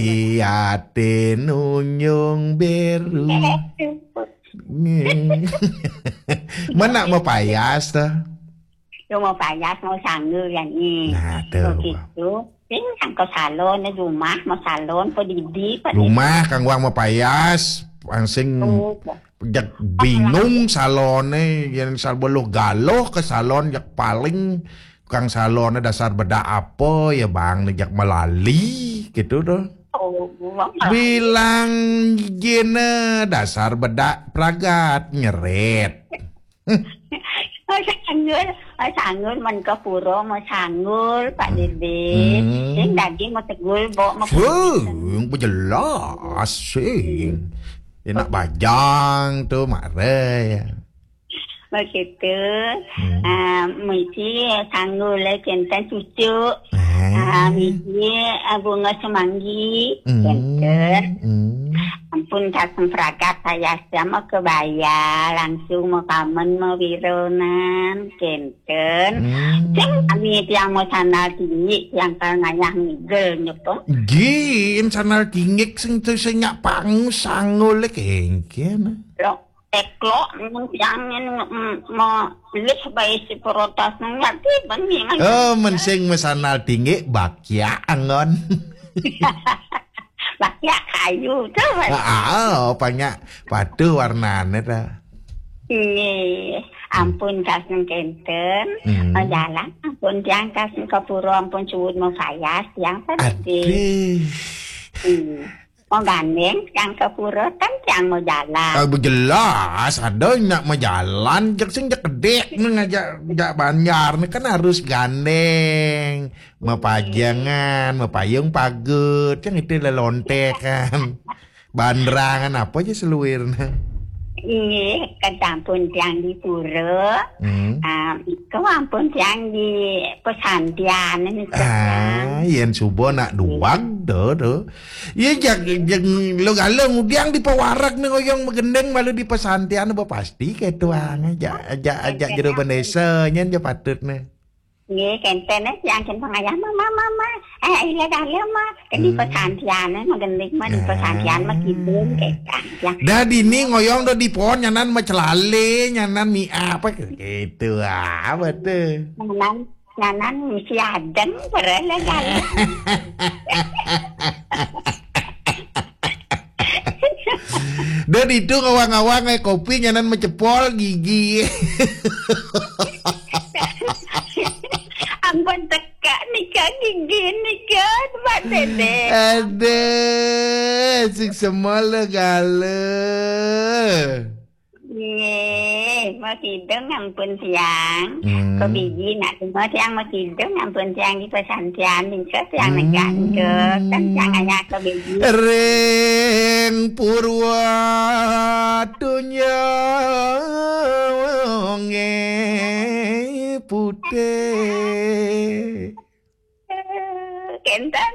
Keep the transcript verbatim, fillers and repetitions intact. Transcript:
Paliate nunyung beru. Mana mau payas ta? Yo mau payas, mau sanggul ya ni. Nah, tuh. Begitu. Sing yang ke salon, di rumah mau salon, pe didi, pe didi. Rumah kang wang mau payas, ang sing jak bingung salone, yang sal beluh galoh ke salon, jak paling kang salone dasar bedak apa ya bang, jak melali gitu tuh. Oh, bilang jene dasar bedak pragat nyeret. Oh, sanggul, oh, sanggul, men ke pura, mau sanggul, Pak Dede. Hmm. Sing daging mau tegul, bok mau Fuh, yang jelas sing. Enak bajang tuh, mare ya. Begitu. Hmm. Ah, mesti sanggul le kenten cucu. Ah. Ah, mesti, ah, bunga semanggi. Hmm. Kenten. Hmm. Ampun, kasem pragat saya sama kebaya, langsung mau pamen, mau wironan, kenten. Hmm. Sing kami tiang mau sandal tinggi, tiang kal ngayah ngigel nyepeng. Gin sandal tinggi sing tu sing nyak pang sanggul le kengken. Lo, teklo, mun tiang, mm, mau lih bae si perotas nang ngerti, ben ni ngan Oh, kerja. Mensing mesandal tinggi, bakya angon. Bakya kayu tu, Mas. Ah, ah, oh, banyak padu warnane ta. Nggih, ampun kasem kenten. Hmm. Oh, jalan, ampun tiang kasem ke pura, ampun suwun mau payas, tiang Aduh. Hmm. Mau gandeng, tiang ke pura, kan tiang mau jalan. Ah, jelas, ada nak mau jalan, jak sing jak kedek, ni ngajak, jak banjar, ni kan harus gandeng. Mepajangan, mepayung pagut, yang itu lelontekan. Bandrangan apa aja seluirna. Nggih, kecampun tiang di pura. Hmm. Ah, iku ampun tiang di pesantian ini. Ah, yen subuh nak duwag do do. Iya jak jak lo galo ngudiang di pewarak nih ngoyong megendeng malu di pesantian apa pasti ketuang aja aja aja jero benesa nyen aja patut nih. Nggih, kenten eh, yang kenten pangayah, "Mama, mama, eh, iya dalem, Ma." Kan di Hmm. pesantian, eh, magending mah di Ah. pesantian mah kidung, kecang. Ya. Dah dini ngoyong do di pohon, nyanan mah celale, nyanan mi apa gitu, apa tuh? Nyanan, nyanan misi adeng, pernah dalem. Dan itu ngawang-ngawang eh kopi nyanan mecepol gigi. Ampun teka nika gigi nika, Pak Dede. Ada sing semua le gale. Nggih, mau kidung ampun tiang. Hmm. Ke biji nak semua tiang mau kidung ampun tiang di pesantian nika tiang Hmm. negak nika. Kan tiang hanya ke biji. Ring purwa dunya nge putih. Kenten.